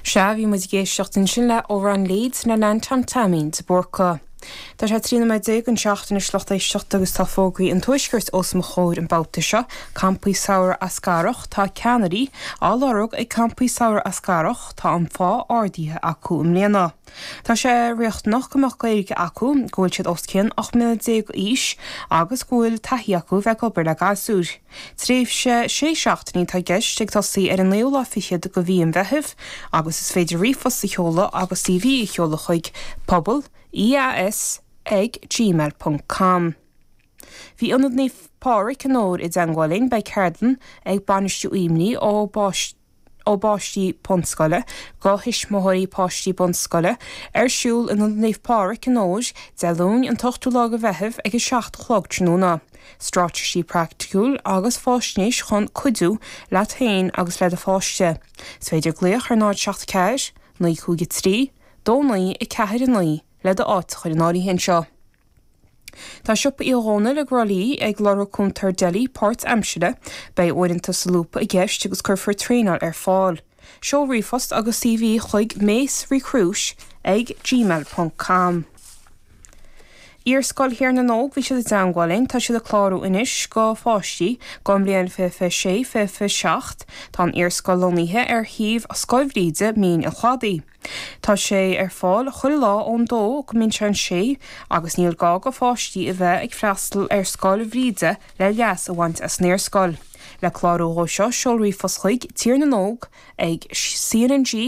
Sea, bhí muid ag éisteacht ansin le Amhrán Leeds le Neantóin Taimín de Búrca. Tá sé 13 nóiméad don seacht anois lucht éisteachta agus tá fógraí an Tuaiscirt os mo chomhair an babhta seo, Campaí Samhraidh Eascarrach, tá ceannairí á lorg ag Campaí Samhraidh Eascarrach, tá an phá ardaithe acu i mbliana. Tá sé riachtanach go mbeadh Gaeilge acu, go bhfuil siad os cionn 18 mbliana d'aois agus go bhfuil taithí acu bheith ag obair le gasúir. Tréimhse sé seachtainí atá i gceist, ag tosaí ar an naoú lá fichead de mhí an Mheithimh, agus is féidir ríomhphost a sheoladh agus CV a sheoladh chuig pobal, EAS, ag gmail ponc com. Bhí Ionad Naomh Pádraig i nDobhar i dteangmháil linn, beidh ceardlann ag bainistiú imní ó ó bpáistí bunscoile go thuismitheoirí páistí bunscoile ar siúl in Ionad Naomh Pádraig i nDobhar, Dé Luain an t-ochtú lá de Mheitheamh ag 7 a chlog tráthnóna. Straitéisí praiticiúil agus fáisnéis chun cuidiú leat féin agus le do pháiste. Is féidir glaoch ar 0 7 4 9 5 3 2 9 4 9 le do áit a chur in áirithe anseo. Tá Siopa Uí Dhónaill i gCró Lí ag lorg cúntóir deli páirt-aimsire. Beidh uaireanta solúbtha i gceist agus cuirfear traenáil ar fáil. Seol ríomhphost agus CV chuig macerecruit ag gmail ponc com. Iarscoil Thír na nÓg, bhí siad i dteangmháil linn, tá siad ag clárú anois go pháistí don mbliain 2026, 2027. Tá an Iarscoil lonnaithe ar shuíomh Scoil Bhríde, Mín an Chladaigh. Tá sé ar fáil chuile lá ón dó go mbíonn sé an sé agus níl gá go pháistí a bheith ag freastal ar Scoil Bhríde le leas a bhaint as an Iarscoil. Le clárú dhó seo seol ríomhphost chuig Tír na nÓg ag CNG.